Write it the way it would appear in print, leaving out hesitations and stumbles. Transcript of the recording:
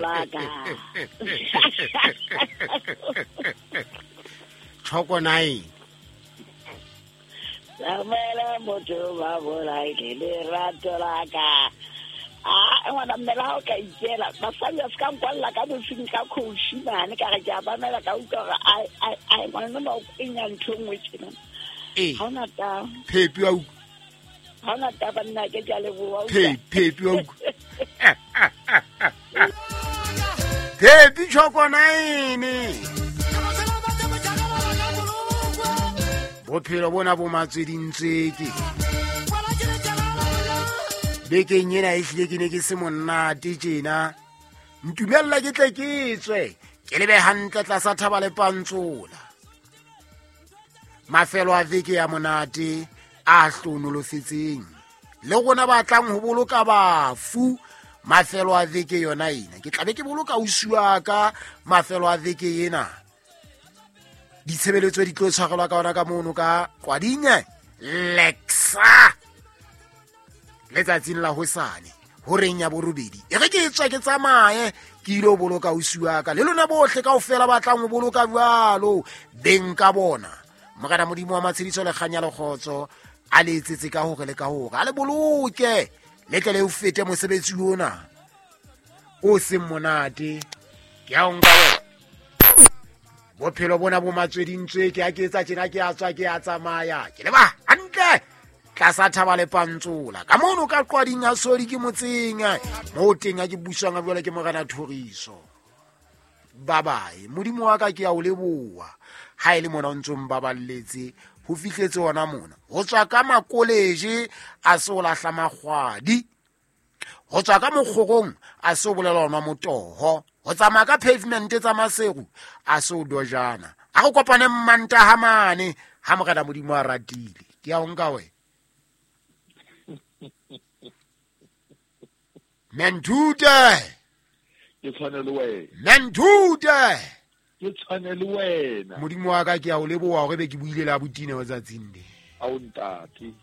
la ka. Choko nine. Samuela motho ba bolaile lerato la ka. A ngwana mmela ha o ka ikela basadi ba se ka nkwalla ka bosing ka coach mane ka re ke a bamela ka utlwa gore ai ngwana no o kwenya ntho e nngwe tjena. Ee. Ha ona taba. Phepi wa utlwa. Ha ona taba nna ke a leboha. Phepi wa utlwa. Phepi Choko nine. Bophelo bona bo matswedintsweke. Bekeng ena ehlile ke ne ke se monate tjena. Ntumella ke tle ke tswe, ke lebe hantle tlasa thaba le pantsola. Mafelo a veke ya monate a hlonolofetseng. Le rona ba tlang ho boloka bafu mafelo a veke yona ena. Ke tla be ke boloka ausi wa ka mafelo a veke ena. Ditshebeletso di tlo tshwarelwa ka ona ka mono ka Kwadinye Lexa letsatsing la hosane horeng ya borobedi. E re ke tswa ke tsamaye ke ile ho boloka ausi wa ka. Le lona bohle kaofela ba tlang ho boloka jwalo beng ka bona. Morena Modimo wa matshediso le kganya le kgotso a le etsetse ka hore le ka hore a le boloke le tle le o fete mosebetsi ona o seng monate. Ke a o nka wena. Bophelo bona bo matswedintswe ke a ke etsa tjena ke a tswa ke a tsamaya ke leba hantle tlasa thaba le pantsola ka mono ka qwading ya sodi ke motseng mo teng a ke buswang a jwale ke Morena Thoriso. Bye bye. Modimo wa ka ke a o leboha ha e le mona o ntso mbaballetse ho fihletse hona mona. Ho tswa ka makoleje a se o lahla makgwadi, ho tswa ka mokgorong a se o bolela ona motoho, ho tsamaya ka pavement tsa Maseru a se o dojana. A re kopane Mmantaha mane ha Morena Modimo a ratile. Ke a o nka wena. Menthute. Ke tshwane le wena. Menthute. Ke tshwane le wena. Modimo wa ka ke a o leboha hore be ke buile le abuti Neo tsatsing le. Ao ntate.